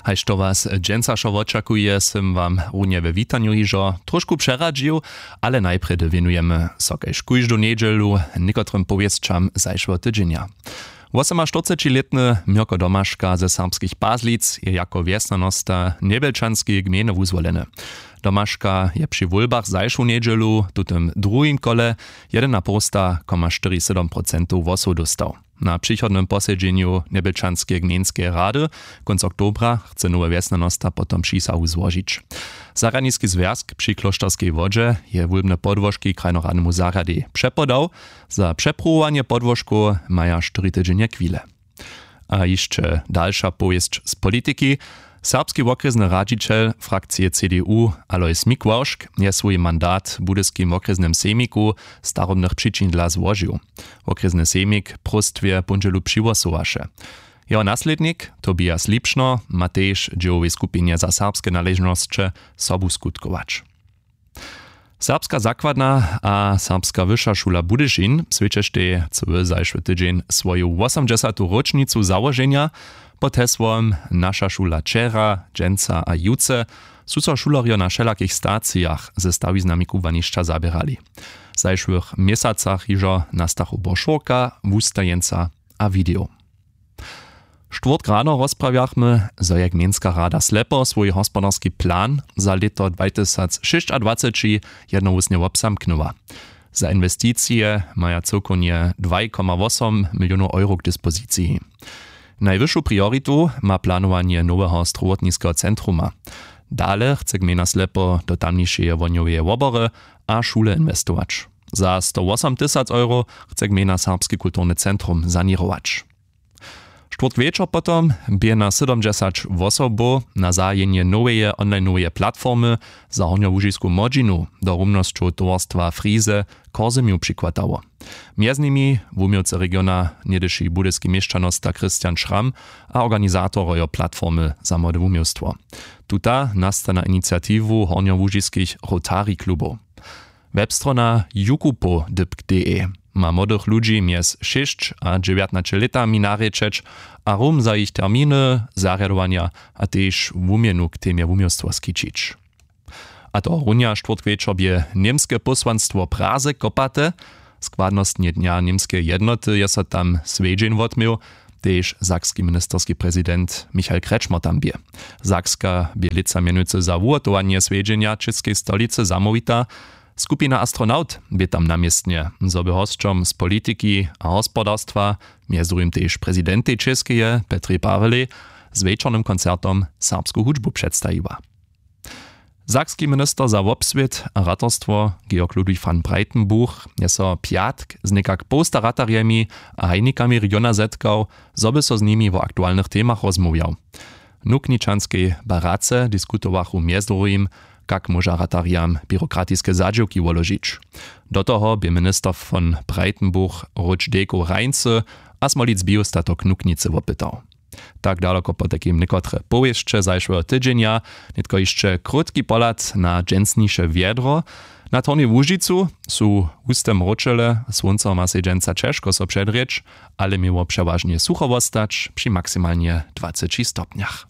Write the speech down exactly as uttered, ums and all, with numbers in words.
Haž to was dźensa wšo wočakuje, sym wam runje we witanju hižo tróšku přeradźił, ale najprjedy wěnujemy so kaž kóždu njedźelu někotrym powěsćam zašłeho tydźenja. Wosomaštyrcećilětny Měrko Domaška ze Serbskich Pazlic je jako wjesnjanosta Njebjelčanskeje gmejny wuzwoleny. Domaška je při wólbach zašłu njedźelu w tutym druhim kole jedynapołsta koma štyri sedom procentow hłosow dóstał. Na přichodnym posedźenju Njebjelčanskeje gmejnskeje rady kónc oktobra chce nowy wjesnjanosta potom přisahu złožić. Zarjadniski zwjazk při klóšterskej wodźe je wólbne podłožki krajnoradnemu zarjadej přepodał. Za přepruwowanje podłožkow maja štyri tydźenje chwile. A hišće dalša powěsć z politiki. Serbski wokrjesny radźićel frakcije C D U Alois Mikławšk je swój mandat w budyskim wokrjesnym sejmiku z starobnych přičin dla złožił. Wokrjesny sejmik w próstwje póndźelu přihłosowaše. Jeho naslědnik Tobias Lipšno ma tež w dźěłowej skupinje za serbske naležnosće sobu skutkować. Serbska zakładna a serbska wyša šula Budyšin swjećeštej cyły zašły tydźeń swoju wosomdźesatu róčnicu załoženja. Pod hesłom Naša šula wčera, dźensa a jutře su so šulerjo na wšelakich stacijach ze stawiznami kubłanišća zaběrali. W zašłych měsacach hižo nastachu brošurka, wustajeńca a video. Štwórtk rano rozprawjachmy, zo je gmejnska rada Slepo swój hospodarski plan za lěto dwajtysacšěsćadwaceći jednohłósnje wobzamknyła. Za inwesticije maja cyłkownje dwaj koma wosom milionow euro k dispoziciji. Najwyšu prioritu ma planowanje noweho strowotniskeho centruma. Dale chce gmejna Slepo do tamnišeje wohnjoweje wobory a šule inwestować. Za sto wosom tysac euro chce gmejna serbski kulturny centrum saněrować. Štwórtk wječor potom bě na sydomdźesać wosobow na zahajenje noweje onlineoweje platformy za hornjołužisku młodźinu do rumnosćow towarstwa Frize w Chorzymju přichwatało. Mjez nimi wuměłcy regiona, něhdyši budyski měšćanosta Christian Schramm a organizatorojo platformy za młode wuměłstwo. Tuta nasta na iniciatiwu hornjołužiskich Rotary klubow. Webstrona jukupo dypk d e ma młodych ludźi mjez šěsć a dźewjatnaće lětami narěčeć a rum za jich terminy, zarjadowanja a tež wuměnu k temje wuměłstwo skićić. A to runja štwórtk wječor bě němske pósłanstwo w Praze kopate. Składnostnje dnja němskeje jednoty je so tam swjedźeń wotměł. Tež sakski ministerski prezident Michael Kretschmer tam bě. Sakska bě lětsa mjenujcy za wuhotowanje swjedźenja w čěskej stolicy zamołwita. Skupina Astronaut bě tam na městnje, zo by hosćom z politiki a hospodarstwa, mjez druhim tež prezidentej Čěskeje Petrej Pawelej, z wječornym koncertom serbsku hudźbu předstajiła. Sakski minister za wobswět a ratarstwo Georg Ludwig von Breitenbuch je so pjatk z někak połsta ratarjemi a hajnikami regiona zetkał, zo by so z nimi wo aktualnych temach rozmołwjał. W nukničanskej barace diskutowachu mjez druhim, kak móža ratarjam běrokratiske zadźěłki woložić. Do toho bě minister von Breitenbuch róč dejkow hrańcy a smolic biostatok nuknicy wopytał. Tak daloko potajkim někotre powěsće zašłeho tydźenja. Nětko hišće krótki pohlad na dźensniše wjedro. Nad hornju łužicu su huste mróčele, słónco ma sej dźensa ćežko so předrěć, ale měło přewažnje sucho wostać při maksimalnje dwaceći stopnjach.